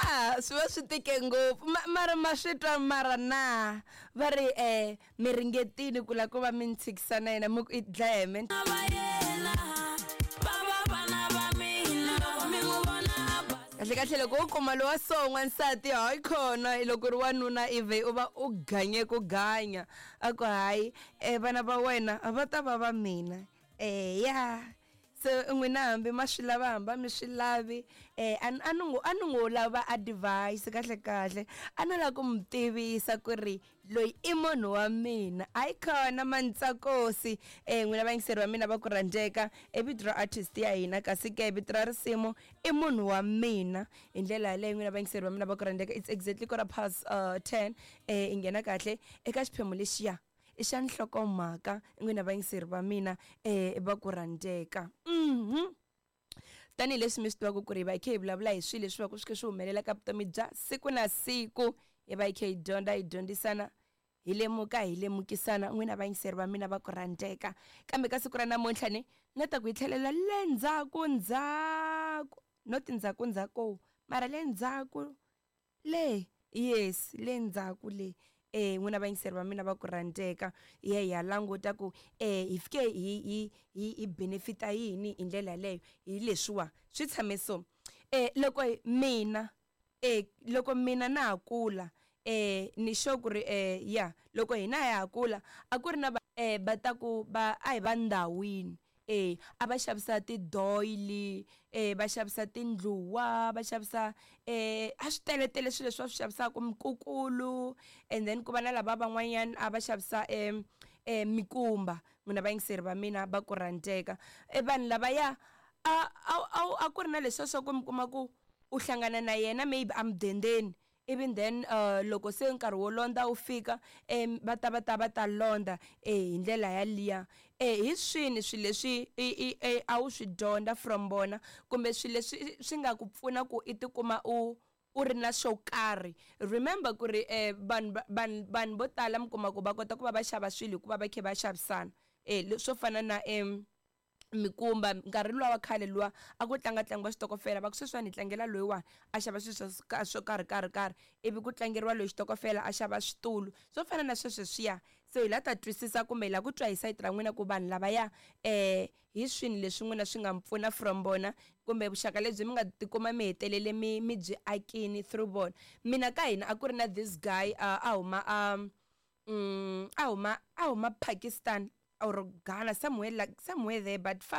Ya, swi va swi tike ngopfu. Mara ma swi twa mara na va ri mi ringetile ku lava ku va mi ni tshikisa na yena mi ku i dlaya hi mina. Va yena va va vana va mina loko mi n'wi vona a basa. Kahle kahle loko wo kuma lowa so n'wansati hayi khona loko ri wanuna ive u va u ganye ku ganya a ku hayi vana va wena va ta va va mina. Ya se n'wina hambi ma swi lava hambi a mi swi lavi a ni, a ni ngo, a ni ngo lava advice kahle kahle a no lava ku mi tivisa ku ri loyi i munhu wa mina. Hayi khona Mantsakosi n'wina vayingiseri va mina va ku rhandzeka i vito ra artist ya hina kasi ke vito ra risimu i munhu wa mina. Hi ndlela yaleyo n'wina vayingiseri va mina va ku rhandzeka it's exactly quarter past 10 i nghena kahle eka xiphemu lexiya i xa nhlokomhaka n'wina vayingiseri va mina va ku rhandzeka. Tanihileswi mi swi tivaka ku ri hi va hi kha hi vulavula hi swilo leswi va ku swi kha swi humelela ka vutomi bya siku na siku, hi va hi kha hi dyondza hi dyondzisana hi lemuka hi lemukisana n'wina vayingiseri va mina va ku rhandzeka. Kambe ka siku ra namuntlha ni na ta ku hi tlhelela le ndzhaku ndzhaku, not ndzhaku ndzhaku mara le ndzhaku le, yes le ndzhaku le. N'wina vayingiseri va mina va ku rhandzeka hi ya hi ya languta ku hi fike hi hi hi hi benefita yini hi ndlela yaleyo hi leswiwa swi tshame so. Loko mina loko mina na ha kula ni sure ku ri ya loko hina ha kula a ku ri na va va ta ku va a hi va ndhawini a va xavisa ti-doily va xavisa tindluwa va xavisa a swi teletele swilo leswi va swi xavisaka mikukulu and then ku va na lava van'wanyana a va xavisa mikumba n'wina vayingiseri va mina va ku rhandzeka. Vanhu lavaya a a a ku ri na leswiya swa ku mi kuma ku u hlangana na yena maybe emudendeni ivi then loko se nkarhi wo londza wu fika va ta va ta va ta londza hi ndlela yaliya. Hi swini swilo leswi i i a wu swi dyondza from vona kumbe swilo leswi swi nga ku pfuna ku i tikuma u u ri na xo karhi. Remember ku ri vanhu vanhu vanhu vo tala mi kuma ku va kota ku va va xava swilo hikuva va kha va xavisana swo fana na mikumba nkarhi luwa wa khale luwa a ku tlanga tlangiwa xitokofela va ku sweswiwani hi tlangela loyiwani a xava swilo swa swo karhi karhi karhi ivi ku tlangeriwa loyi xitokofela a xava switulu swo fana na sweswo swiya. Se hi la ta twisisa kumbe hi la ku twa hi sayiti ra n'wina ku vanhu lavaya hi swini leswi n'wina swi nga mi pfuna from vona kumbe vuxaka lebyi mi nga tikuma mi hetelele mi mi byi akini through vona. Mina ka hina a ku ri na this guy a huma a a huma a huma Pakistan or Ghana somewhere like somewhere there but far.